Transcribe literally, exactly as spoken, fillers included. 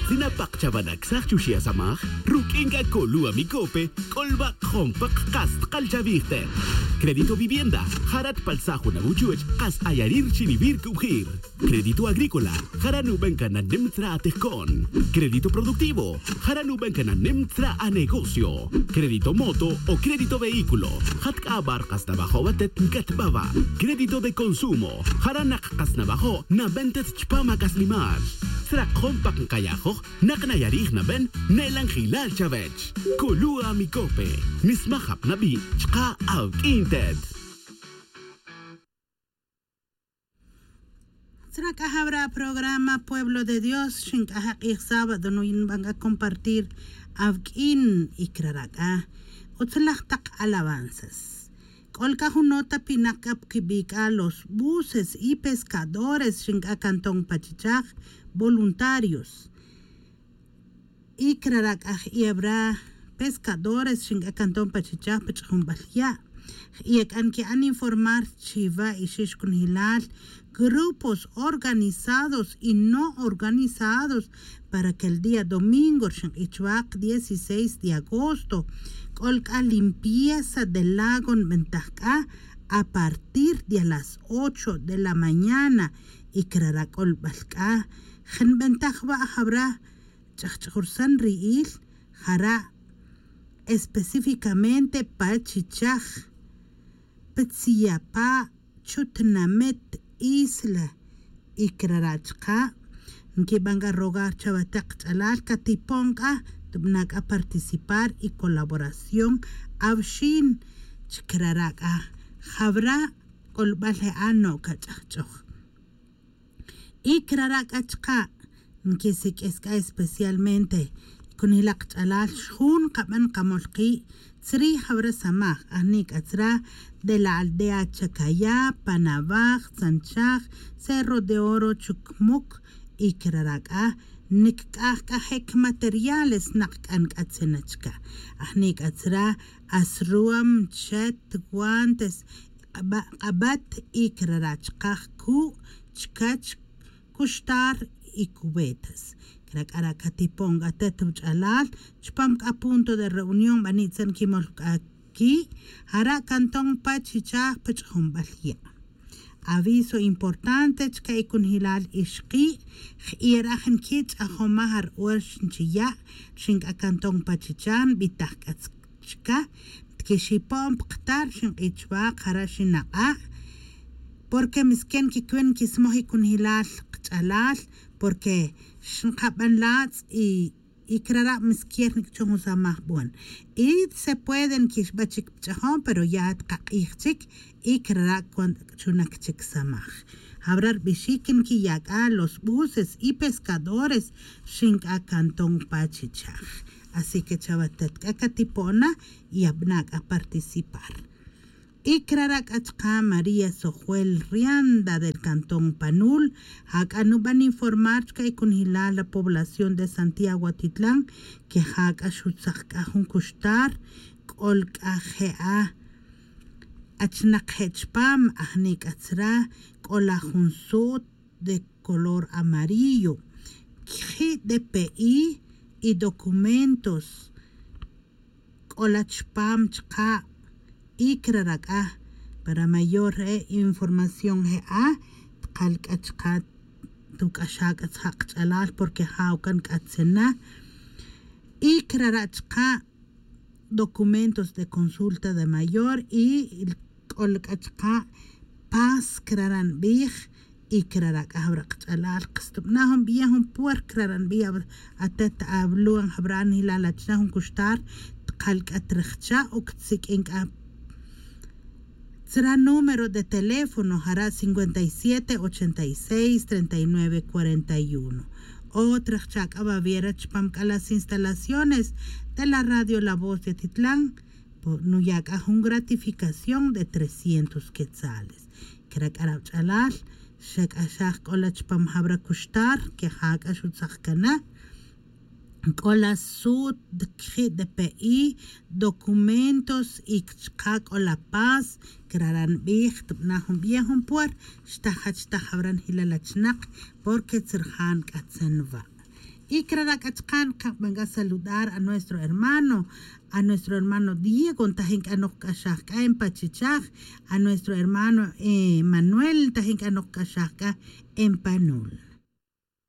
Si napak chawa' naksaj chuxi' asamaj, ruq'uin c'a colu' amicope c'olba' jun pak kas tkal chawij te. Crédito vivienda, jara' tpalsaj jun awuchuch kas ayari' rchiniwil cubjir. Crédito agrícola, jara' nuben cana nim tzra' atijco'n. Crédito productivo, jara' nuben cana nim tzra' anegocio. Crédito moto o crédito vehículo, jat c'a abar kas nawajo' watet ncatba wa'. Crédito de consumo, jara' nak kas nawajo' naben tet chpam ac'aslimal. Tzrak jun pak nkayajoj nak nayarij naben ne'lanjilal chawech. Colu' amicope, nismaj apnabi' chka' awq'uin tet. Tzra' c'a jawra' programa Pueblo de Dios, xinc'aja' k'ij sábado nuyin ban c'a compartir awq'uin y crara' c'a utzlaj tak alabanzas. C'ol c'a jun nota pinak c'a quibi' c'a los buses y pescadores xinc'a cantón pa chichaj, voluntarios. Y crara' c'a ji'e' awra' pescadores xinc'a cantón pa chichaj pa ch'ajunbal ya'. Ji'e' c'a nqui'an informar chiwa' ixix cunjilal, grupos organizados y no organizados para que el día domingo rxink'ij chuwak dieciséis de agosto c'ol c'a limpieza del lago nbentaj c'a a partir de las ocho de la mañana. Y crara' c'olbal c'a je' nbentaj wa' jawra' ch'ajch'ajursan ri'il jara' específicamente pa chichaj, pa tziyapa', chutnamet, isla. Y crara' chka' nquiban c'a rogar chawe tak kach'alal catipon c'a tubana' c'a participar y colaboración awxin. Chi crara' c'a jawra' c'olbal je' a no' cach'ajch'oj. Y crara' c'a chka' nquisiq'uis c'a especialmente cunilak ch'alal xjun nkaban nkamol ki' tzri' jawra samaj ajni' c'a tzra' de la aldea chacayá, panawaj, tzanchaj, cerro de oro, chucmuc. Y crara' c'a nic'aj c'a je' cmateriales nak c'a nc'atzin na chca ajni' c'a tzra' asruam, chet, guantes, k'abat y crara' chkaj cu' chcach, cuxtar y cubetas. Cra' c'a ra' catipon c'a tet wuch'alal chupam c'a punto de reunión bani' tzan quimol c'a qui' jara' cantón pa chichaj pa ch'ajunbal ya'. Aviso importante chca' y cunjilal ixki' ji'e' ra' jin qui' ch'ajomaj aru'or xinchiya' rxin c'a cantón pa chichaj nbitaj c'a chica tquixipon pktar xink'ij chuwak jara' xinak'a'. Porque misken quicwin quismoj y cunjilal kach'alal porque xnkaban latz' y y crara' misquier nic'chon jun samaj bon. Y se puede nquixba chic pch'ajon pero ya tkak'ij chic y crara' cuando c'chunac chic samaj. Jawra' rbixic nquiya' c'a los buses y pescadores rxin c'a cantón pa chichaj. Así que chawe tet c'a catipo'na y abana' c'a participar. Y crara' c'a chka' María Sojuel Rianda del cantón Panul, ja c'a nuban informar chca' y cunjilal la población de Santiago Atitlan que ja c'a xutzak c'a jun cuxtar c'ol c'a je'a achnak je' chpam ajni' c'a tzra' c'ola jun su't de color amarillo, cji' de pe i y documentos c'ola chpam chka' y crara' c'a para mayor re' información je'a tkal c'a chka' tuc'axa' c'a tzja' kach'alal porque ja ucan c'a tzena. Y crara' chka' documentos de consulta de mayor y c'ola c'a chka' pas crara' nbij. Y crara' c'a jawra' kach'alal kastubana' jun biyej jun puer crara' nbij atet aluan jawra' nilal achna jun cuxtar tkal c'a trajcha' o csiq'uin c'a tzra' número de teléfono jara' cincuenta y siete ochenta y seis treinta y nueve cuarenta y uno. O trajcha' c'a baviera chpam c'a las instalaciones de la radio la voz de titlan nuya' c'a jun gratificación de trescientos quetzales. Cra' c'a ra' wach'alal xac'axaj c'ola chpam jawra' cuxtar que ja c'a xutzak cana c'ola su't cji' de pe i documentos y chka' c'ola pas crara' nbij tubana' jun biyej jun puer xtajach taj jawra' nijilal achnak porque tzrajan c'a tzan wa'. Y crara' c'a chakan caban c'a saludar a nuestro hermano, a nuestro hermano Diego ntajin c'a nokc'axaj c'a en pachichaj, a nuestro hermano Manuel ntajin c'a nokc'axaj c'a en panul.